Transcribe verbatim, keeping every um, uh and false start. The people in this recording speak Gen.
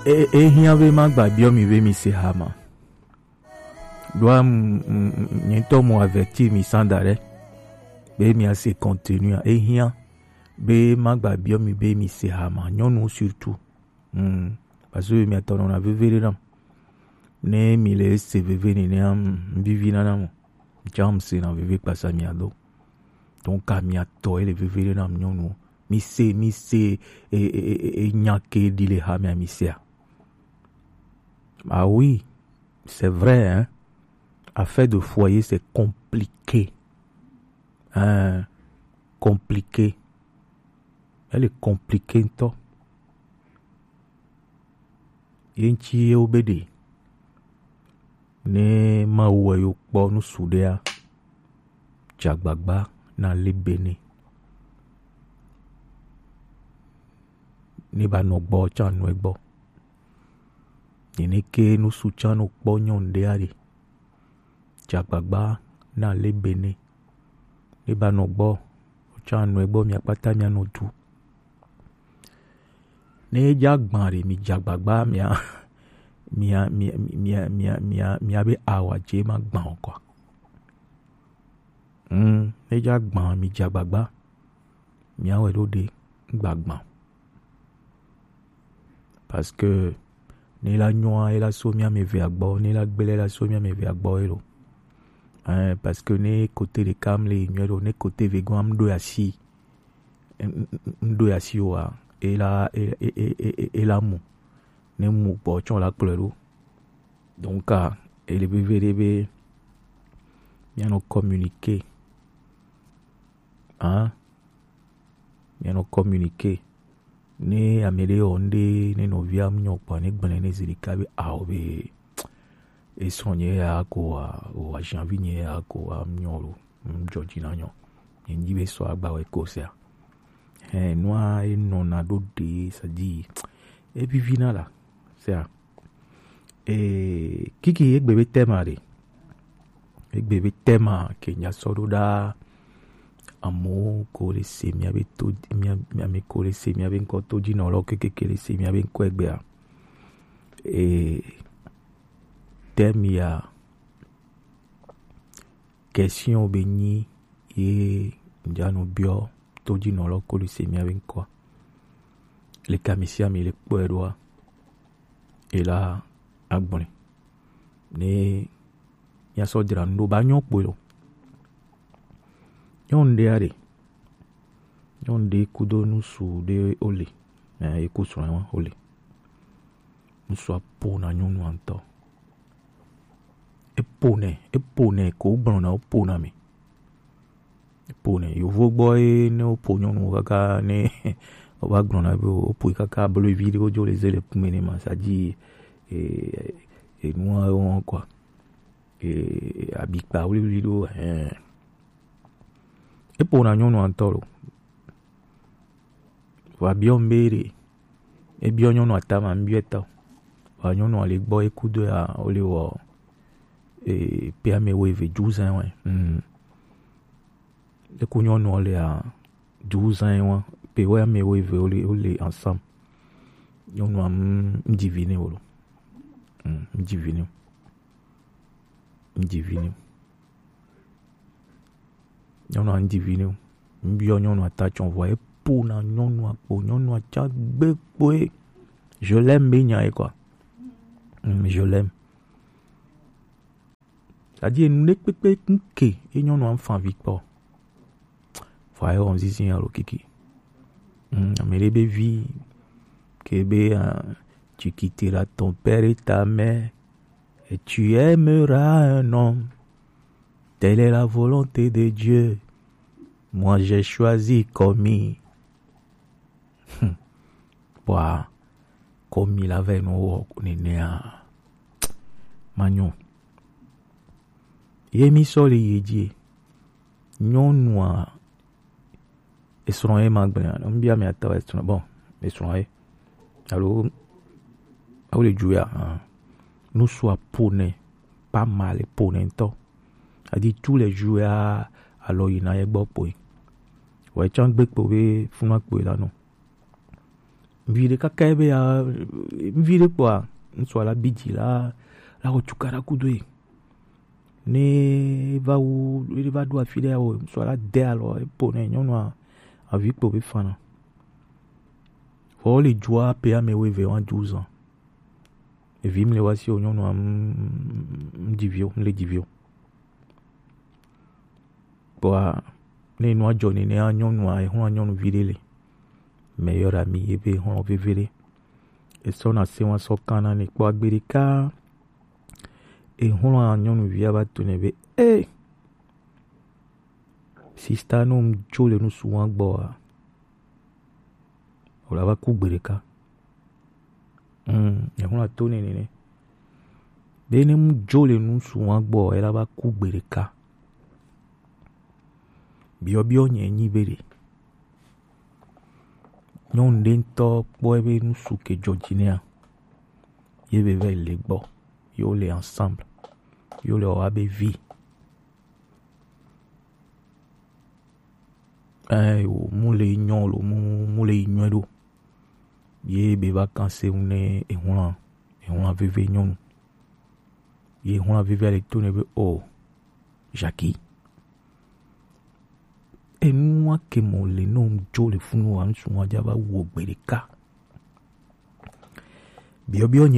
E, e hiã be ma gba biɔ mi be mi se hama. Ɖoa, mm, mm, mm, nye ŋutɔ mo avertir mi sans arrêt be mi a se continue a. E hiã be ma gba biɔ mi be mi se hama. Nyɔnu surtout. Mm. Parce que mi atɔ nɔna veve ɖe nam. Ne mi le se veve nenea, mm, vivi na nam. Jam se na veve kpasa mi ado. Donc, ka mi atɔ ele veve ɖe nam nyɔnu. Mi se, mi se, e, e, e, e, e, nya ke ɖi le ha mi a mi se a. Ah oui, c'est vrai, hein. Affaire de foyer, c'est compliqué. Hein, compliqué. Elle est compliquée, toi. Ye ŋuti ye wo be ɖe. Ne Mawu wɔ yo kpɔ nusu ɖea, dze agbagba na le be ne. Ne ba nɔ gbɔ can nɔ egbɔ. Nene ke nusu can no kpɔ nyɔnu ɖea ɖe. Dze agbagba na le be ne. Ne ba nɔ gbɔ, can nɔ egbɔ mi akpata mi anɔ du. Ne edza gbã ɖe, mi dze agbagba mia, mia, mia, mia, mia, mia, mia be awa dze ma gbã o quoi. Hmm, ne edza gbã, mi dze agbagba. Mia wɛ ɖo ɖe, gba gbã. Parce que ne la nyoa, e la so mia me ve agbɔ, ne la gbele la so mia me ve agbɔ e lo. Hein, parce que ne côté ɖeka mi le nyuie ɖo, ne côté ve gɔn am ɖo asi. M, m, m, m ɖo asi oa, e la, e, e, e, e, e, e la mu. Ne mu gbɔ tsɔ la kplɔe ɖo. Donc, ah, ele veve ɖe be mianɔ communiquer. Hein? Mianɔ communiquer. Ne ame ɖe wɔ ŋɖe, ne nɔvia mu nyɔ kpɔa, ne gblẽ ne zi ɖeka be, ao be, esrɔ̃ nye ya ko wa, o wa janvi nye ya ko wa mu nyɔ lo, mu dzɔ dzi na nyɔ. Nye ŋdi be sɔ agba wɛ ko sea. Hɛn, nua e nɔna ɖo ɖe, c'est-à-dire, e vivi na la, sea. E, kiki egbe be thème a ɖe. Egbe be thème a ke nya sɔ ɖo ɖa. Amewo ko le se mia be to, mia, mia me ko le se mia be ŋkɔ to dzi nɔ lɔ kekeke le se mia be ŋkɔ egbea. E, thème ya, question be nyi ye ŋdza nɔ biɔ to dzi nɔ lɔ ko le se mia be ŋkɔa. Le ka mi sia mi le kpɔe ɖoa, e la agblɔe. Ne miasɔ dzra nu ɖo ba nyɔ kpoe lo. Nyɔnu ɖe aɖe. Nyɔnu ɖe kudo nusu ɖe wole. Eh, eku srɔ̃ wa wole. Nusua po na nyɔnua ŋutɔ. Epo nɛ, epo nɛ ko gblɔ na wopo na mi. Epo nɛ. Yovo gbɔ ye ne wopo nyɔnu kaka ne wova gblɔ na be wopo kaka blo vi ɖe wodzo le ze le kume ne ma sa dzi e, e nua wo kɔ. E, abikpa wliwli ɖo, eh. Epo na nyɔnua ŋutɔ lo. Vɔ abiɔ ŋbe ɖe. Ebiɔ nyɔnua tama, ŋbiɔ ta o. Vɔ nyɔnua le gbɔ, eku do ya, wole wɔ, e, pe ame wo eve, douze ans, ouais. Mm. Eku nyɔnua le a, douze ans, ouais. Pe wo ame wo eve, wole, wole ensemble. Nyɔnua, mm, ŋdi vi ne wo lo. Mm, ŋdi vi ne. Ŋdi vi ne. Nyɔnua ŋdi vi ne. Ŋbiɔ nyɔnua ta tsɔ vɔ epo na nyɔnua kpo, nyɔnua tsa gbe kpoe. Je l'aime be nya ye quoi. Mm, je l'aime. C'est-à-dire, enu ɖe kpekpe ŋke ye nyɔnua ŋfa vi kpɔ. Vɔ ayɔ ŋzizi alo kiki. Mm, ame ɖe be vi ke be, ah, tu quitteras ton père et ta mère et tu aimeras un homme. Telle est la volonté de Dieu. Moi, j'ai choisi Komi. Hmm. Kpɔa, Komi la vɛ nɔ wɔ nenea. Manyo. Ye mi sɔ le ye dzi. Nyɔnua, esrɔ̃ ye ma gblẽ. Ŋbia mi atɔ esrɔ̃. Bon, esrɔ̃ ye. Alo, awo le ju ya. Ah. Nusua po nɛ, pas mal po nɛ ŋutɔ. Adi tous les jours ya, alɔ yina ye gbɔ kpoe. Wɔ etsã gbe kpo be funa kpoe la nɔ. Ŋvi ɖe kaka ebe ya, ŋvi ɖe kpɔa, ŋsua la bi dzi la, la wɔ cukaɖa kudo ye. Ne va wu, ne va ɖo afi ɖe ya wɔ, ŋsua la de alɔ, epo nɛ nyɔnua, avi kpo be fana. Vɔ wo le dua pe ame wo eve wa du zan. Evi mi le wa si o nyɔnua, m-, m-, m-, di vi o, m-, le di vi o. Kpɔa, ne nua dzɔ nenea, nyɔnua, exlɔ̃a nyɔnuvi ɖe le. Mɛ yɔ ɖa mi ebe exlɔ̃ veve ɖe. Esɔ na se wa sɔ kan na ne kpɔ agbe ɖeka. Exlɔ̃a nyɔnuvia va to ne be, "Eh! Sista, no m dzo le nusu wa gbɔ a, o la va ku gbe ɖeka." Mm, exlɔ̃a to ne nene. Be ne m dzo le nusu wa gbɔ, e la va ku gbe ɖeka. Biɔbiɔ nye nyi be ɖe nyɔnu ɖe ŋutɔ kpɔ ebe nusu ke dzɔ dzi nɛa, ye be va yi le gbɔ, ye wo le ensemble, ye wo le wɔ abe vi. Ɛ, o, mu le nyɔ lo, mu, mu le nyɔ ɖo. Ye be va kan se ŋu ne exlɔ̃a, exlɔ̃a veve nyɔnu. Ye exlɔ̃a veve le to ne be, "O, Jackie, enua ke mo le no m dzo le funu wa, ŋsu wa dza va wo gbe ɖeka." Biɔbiɔ